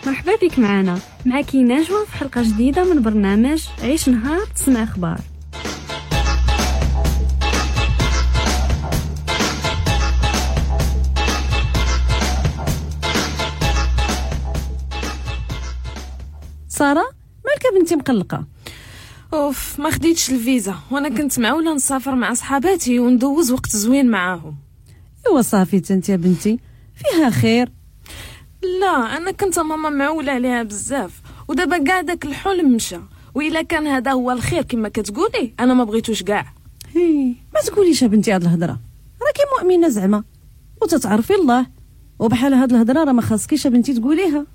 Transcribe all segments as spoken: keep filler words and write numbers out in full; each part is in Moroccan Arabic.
مرحبا بك معنا، معك نجوى في حلقة جديدة من برنامج عيش نهار تسمع أخبار. سارة، مالك بنتي مقلقة؟ اوف، ما خديتش الفيزا وانا كنت معولة نسافر مع صحاباتي وندوز وقت زوين معاهم. ايوا صافي انت يا بنتي فيها خير. لا، انا كنت ماما معوله عليها بزاف، ودابا كاع داك الحلم مشى، والا كان هذا هو الخير كما كتقولي انا ما بغيتوش كاع. هي ما تقوليش يا بنتي هاد الهضرة، راكي مؤمنة زعما وتتعرفي الله، وبحال هاد الهضرة راه ما خاصكيش يا بنتي تقوليها.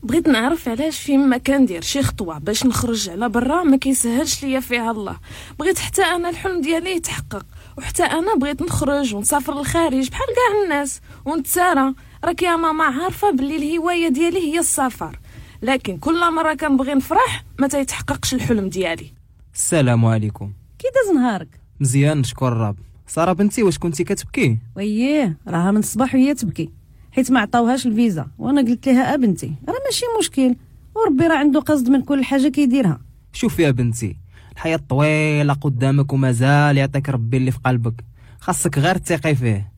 بغيت نعرف علاش فيما كندير شي خطوة باش نخرج على برا ما كيسهلش ليا فيها الله. بغيت حتى انا الحلم ديالي يتحقق، وحتى انا بغيت نخرج ونسافر للخارج بحال كاع الناس ونتسارى. راك يا ماما عارفه باللي الهواية ديالي هي السفر، لكن كل مرة كنبغي نفرح ما تيتحققش الحلم ديالي. السلام عليكم، كي داز نهارك؟ مزيان نشكر الرب. ساره بنتي، واش كنتي كتبكي؟ وييه، راها من الصباح وهي تبكي حيت ما عطاوهاش الفيزا، وانا قلت لها بنتي راه ماشي مشكل، وربي راه عنده قصد من كل حاجة كيديرها. شوفي يا بنتي، الحياة طويلة قدامك ومازال يعطيك ربي اللي في قلبك، خاصك غير تثقي فيه.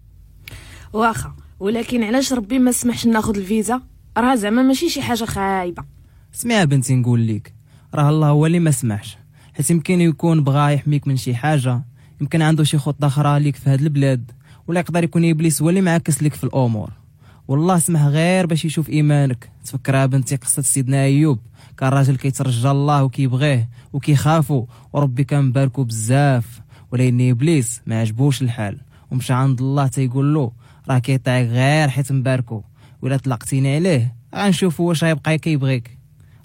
واخا، ولكن علاش ربي ما سمحش ناخذ الفيزا؟ راه زعما ماشي شي حاجة خايبة. اسمعي يا بنتي نقول لك، راه الله هو اللي ما سمحش، حيت يمكن يكون بغا يحميك من شي حاجة، يمكن عنده شي خطه اخرى ليك في هذا البلاد، ولا يقدر يكون ابليس هو اللي معاكس لك في الامور. والله سمح غير باش يشوف ايمانك. تفكر يا بنتي قصة سيدنا ايوب، كان راجل كيترجى الله وكيبغيه وكيخافو، وربي كان مباركو بزاف، ولكن ابليس ما عجبوش الحال ومشى عند الله تيقول له راه كيطيعك غير حيت مباركو، ولا طلقتيني عليه غنشوفو واش غيبقى كيبغيك.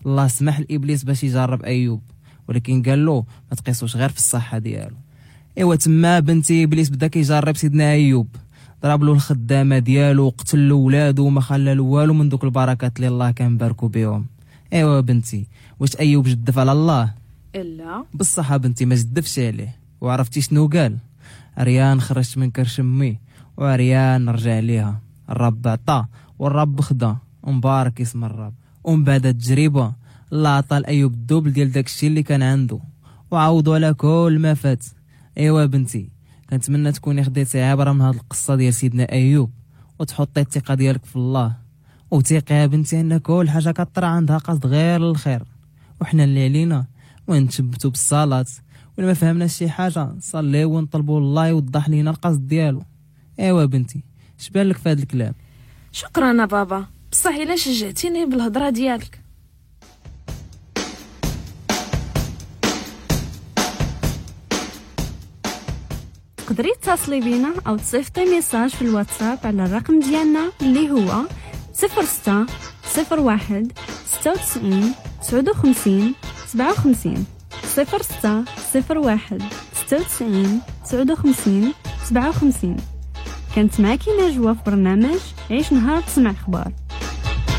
الله سمح لابليس باش يجرب ايوب، ولكن قال له ما تقيسوش غير في الصحة ديالو. ايوا تما بنتي ابليس بدا كيجرب سيدنا ايوب، ضرب له الخدامة ديالو وقتل له ولادو وما خلى له والو من دوك البركات اللي الله كان باركو بهم. ايوا بنتي، واش ايوب جدف على الله؟ لا بصح بنتي ما جدفش عليه. وعرفتي شنو قال؟ عريان خرجت من كرش امي وعريان نرجع ليها، الرب عطا والرب خدا، ومبارك اسم الرب. ومن بعد التجربة الله عطى لايوب ال double ديال داكشي اللي كان عنده وعوضوا على كل ما فات. ايوا بنتي، كنتمنى تكوني خديتي عبره من هذه القصة ديال سيدنا ايوب، وتحطي الثقة ديالك في الله، وثيقي يا بنتي ان كل حاجة كطرا عندها قصد غير الخير، وحنا اللي علينا ونتثبتوا بالصلاة، ولا ما فهمناش شي حاجة نصليو ونطلبوا الله يوضح لينا القصد ديالو. ايوا بنتي، اش بان لك في هذا الكلام؟ شكرا بابا، بصح الا شجعتيني بالهضره ديالك. تقدري تتصلي بينا او تصيفطي message في الواتساب على الرقم ديالنا اللي هو صفر ستة صفر واحد ستة وتسعين تسعة وخمسين سبعة وخمسين، صفر ستة صفر واحد ستة وتسعين تسعة وخمسين سبعة وخمسين. كانت معك نجوى في برنامج عيش نهار تسمع اخبار.